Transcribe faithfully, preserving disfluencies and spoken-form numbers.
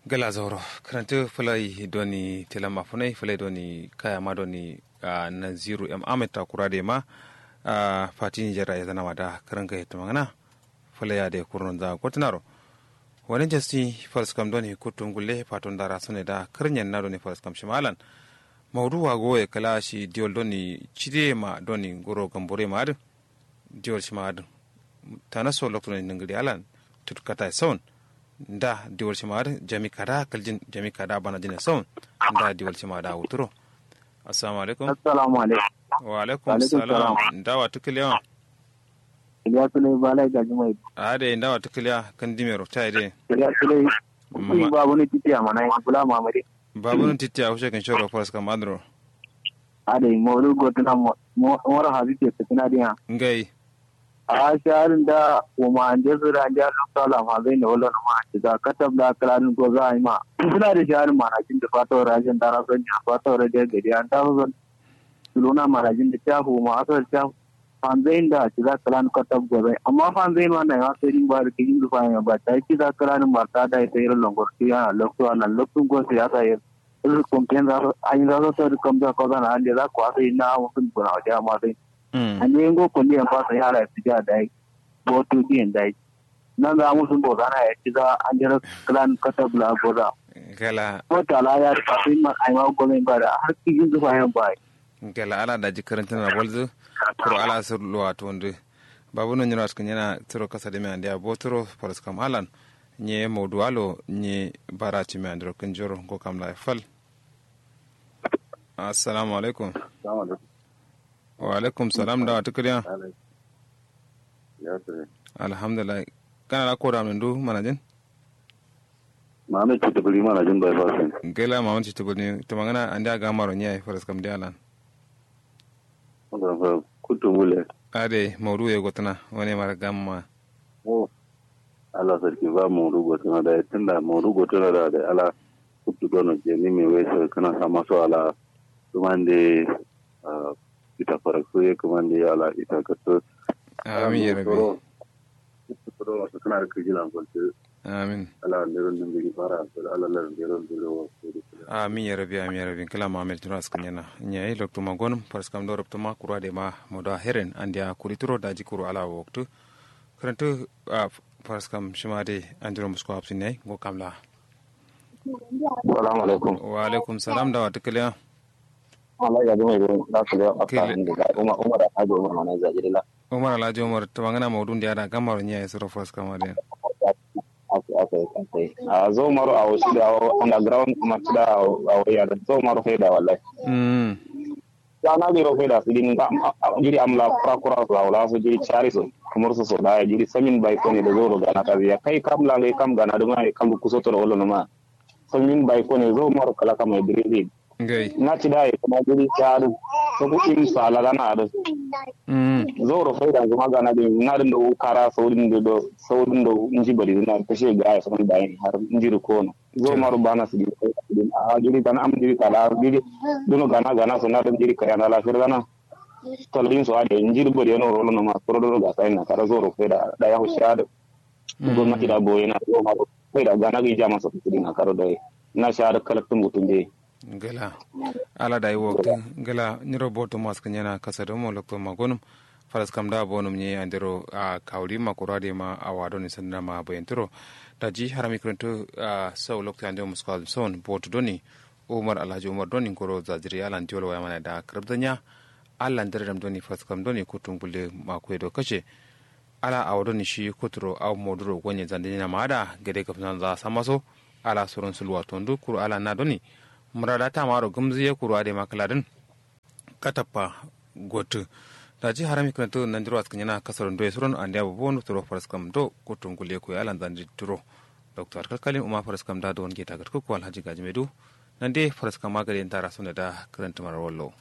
Gala zauro. Kǝrantǝ fǝlai doni telam afunai fǝlai doni kayama doni. Naziru m ahmed takura de ma fati nijer ra yezana ma da kǝranga yetǝmangǝna. Fǝlai ya de kurno nza gotǝnaro. Wani jasti faraskam doni kuttum gulle faton dara sone da kǝrnyen na doni faraskam shimalan. Maudu wa goye kǝla shi diwol doni cide ma doni nguro gambore ma adǝ. Diwol shima adǝ. Tanaso loktu doni nǝngǝri alan tutkata saun. Nda diwol shima adǝ jami kada kǝljin jami kada banajin saun. Nda diwol shima da wuturo. Assalamu alaikum. Assalamu alaikum. Wa alaikum salam. Nda wa tukǝlewa? Iliya sulai balai gaji mai. Ade nda wa tukǝlewa kǝndimero ta ide. Iliya sulai. Babunu titiya mana bula mamade. Babunu titiya hushe kǝnshoro faraskam adǝro. Adai maudu gotuna moro habibe sǝkǝna diya. Ngai. A sharin da kuma ande sura ande a loktu ala fanzain da wallo numa. Ciga katab la kǝladin goza aima suna da sharin manajin da fata wara jin dara son ya fata wara jin gadi an taso son. Suluna manajin da cafu ma asar cafu. Fanzain da ciga kǝladin katab gozai amma fanzain ma naima sai din ba da kijin zufa ya ba ta ciga kǝladin marta da ya sai ran longor tu yana loktu ala loktu gosa ya sa ya. Irin kumten za su an yi za su sauri kam za ko zana ande za ko asai na musun guna waje amma sai. Ande ngo kulli en fasa yala ya fija dai. Botu diyen dai. Nan za musun bo zana ya ci za an jira klan katab la goza. Gala. Ko tala ya fasa yin man aima gomen ba da har kijin zufa yan ba. Gala ala da jikarin tana walzu. Kuro ala sur luwa tondu. Babu no nyiro askin yana tiro kasa de me ande abo tiro faras kam alan. Nye modu alo nye bara ci me andiro kinjoro go kam la fal. Assalamu alaikum. Wa alaikum salam da wata kiriya. Alhamdulillah. Kana da koda min du manajin? Mamin citibiri manajin bai fasin. Gela mamin citibiri to mangana andi a gamaro nya faras kam dialan. Kutu mule. Ade maudu ya gotana wani mara gamma. Oh. Ala sarki ba maudu gotana da tunda maudu gotana da da ala. Kutu dono jeni me wai sai kana sama so ala. Tumande. Ita faraksu ye kǝmande ala ita kǝttǝ. Amin ya rabi. Kǝttǝ kǝdo wasu kǝna da kǝjilan kwaltǝ. Amin. Ala ndero nǝngǝri bara ala lar ndero ndero wasu. Amin ya rabi amin ya rabi kǝla ma amin tuna sǝkǝnyana. Nyayi loktu ma gonum faraskam do ruptuma kuru adai ma modo a heren andiya kuri turo daji kuru ala waktǝ. Kǝrantǝ. Faraskam shima dai andiro musko hapsin yayi ngo kamla. Salamu alaikum. Wa alaikum salam da wa tukiliya. Umar alhaji umar mana zajiri la. Umar alhaji umar tumangana maudun da yada gamaro nya ya suro faraskam adai. A zo maro a wasu da awo underground kuma ci da awo yada zo maro fai da wallahi. Sana jiro fai da su din jiri amla kura kura su awo la su jiri cari su. Kamar su so da jiri samin bai kone da zo ro gana ka biya kai kam la ngai kam gana duma kam kuso toro olo numa. Samin bai kone zo maro kala kama idrisi. Na ci da ya kuma guri ta adu. Soku in sala gana adu. Zo ro faida kuma gana din na din do kara saudin do saudin do nji bari na kashe ga ya saman bayin har njiri kono. Zo maro bana su din a jiri gana am jiri kala jiri. Duno gana gana so na din jiri kaya na lafir gana. Tallin so ade njiri bari no rolo no ma koro do ga sai na kara zo ro faida da ya hushi adu. Gomnati da boye na yau ma kai da gana gi jama so kudi na karo da na sha da kalaktun mutum de. Ngila. Ala da yi waktu ngila nyiro boto mas kanyana kasa da mo lokto magonum. Faras kam da bonum nye andero a kawri ma kura de ma a wado ni sanda ma bayantiro. Da ji harami kuranto a sau lokto andero musko son boto doni. Umar alhaji umar doni ngoro zaziri alan diwol waya mana da karabzanya. Allan dare dam doni faras kam doni kutum gulle ma kuye do kace. Ala awo doni shi kuturo awo moduro gonye zandinina ma ada gade gabsanza samaso. Ala suron sulwa tondu kuru ala na doni murada tamaro gumziye kuru ade ma kladin. Katappa gotu. Daji harami kǝnatu nandiro askǝnyana kasaro ndoye suron andiya bobo nuturo faraskam do kutum gulle kuye alan zandi turo. Doktor kalkalin uma faraskam da don geta gatkuku alhaji gajimedu. Nande faraskam magade ndara sonde da kǝrantǝmar wallo.